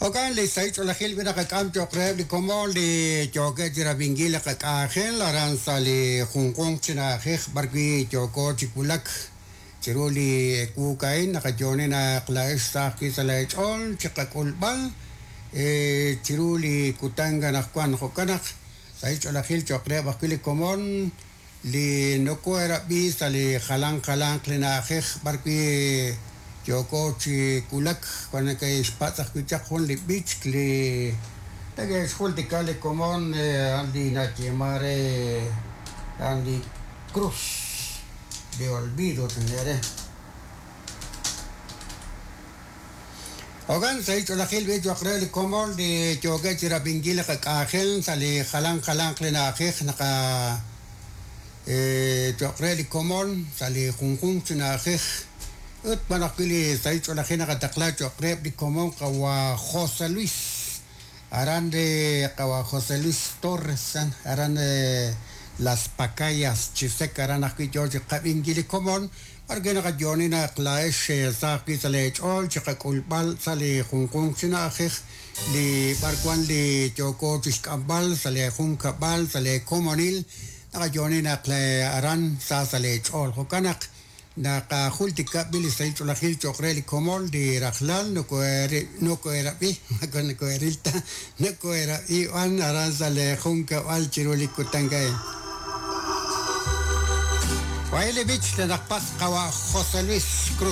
Jo'kan li sahil ch'oolejil b'i naqak'am cho'q reheb' li komon li yookeb' chi rab'inkil li qak'anjel aran sa' li junjunq chi na'ajej b'arwi' yooko chi wulak chiru li ewuuk a'in naqayo'oni naq laa'ex sa ajwi' sa' leech'ool chi qak'ulb'al chiru li kutan anaqwan. Jo'kan naq sahil ch'oolejil cho'q reheb' ajwi' li komon li nokohe'rab'i sa' li jalan jalanq li na'ajej b'arwi' yooko chi wulak. Wan neke'xpatz' ajwi' chaq jun li b'ich li neke'xjultika li komon a'an li nayeeman re a'an li Cruz de Olvido chanke're re. Jo'kan sahil ch'oolejil b'i cho'q re li komon li yookeb' chi rab'inkil li qak'anjel sa' li jalan jalanq li na'ajej naqa cho'q re li komon sa' li junjunq chi na'ajej ut wan ajwi' li sahil ch'oolejil naqataqla cho'q reheb' li komon qawa' José Luis aran re qawa' José Luis Torres aran Las Pacayas Chisec aran ajwi' yoo chi qab'inkil li komon B'arwi' naqayo'oni naq laa'ex sa ajwi' sa' leech'ool chi qak'ulb'al sa' li junjunq chi na'ajej li b'arwan li yooko chixk'amb'al sa' lee junkab'al, sa' lee komonil, naqayo'oni naq aran sa sa' leech'ool. Jo'kan naq naqajultika b'i' li sahil ch'oolejil cho'q re li komon li rajlal nokohe'rab'i, moko nokohe'ril ta, nokohe'rab'i b'an aran sa' lee junkab'al chiru li kutan a'in. Wahi' li b'ich li naqpatz' qawa' José Luis Cruz.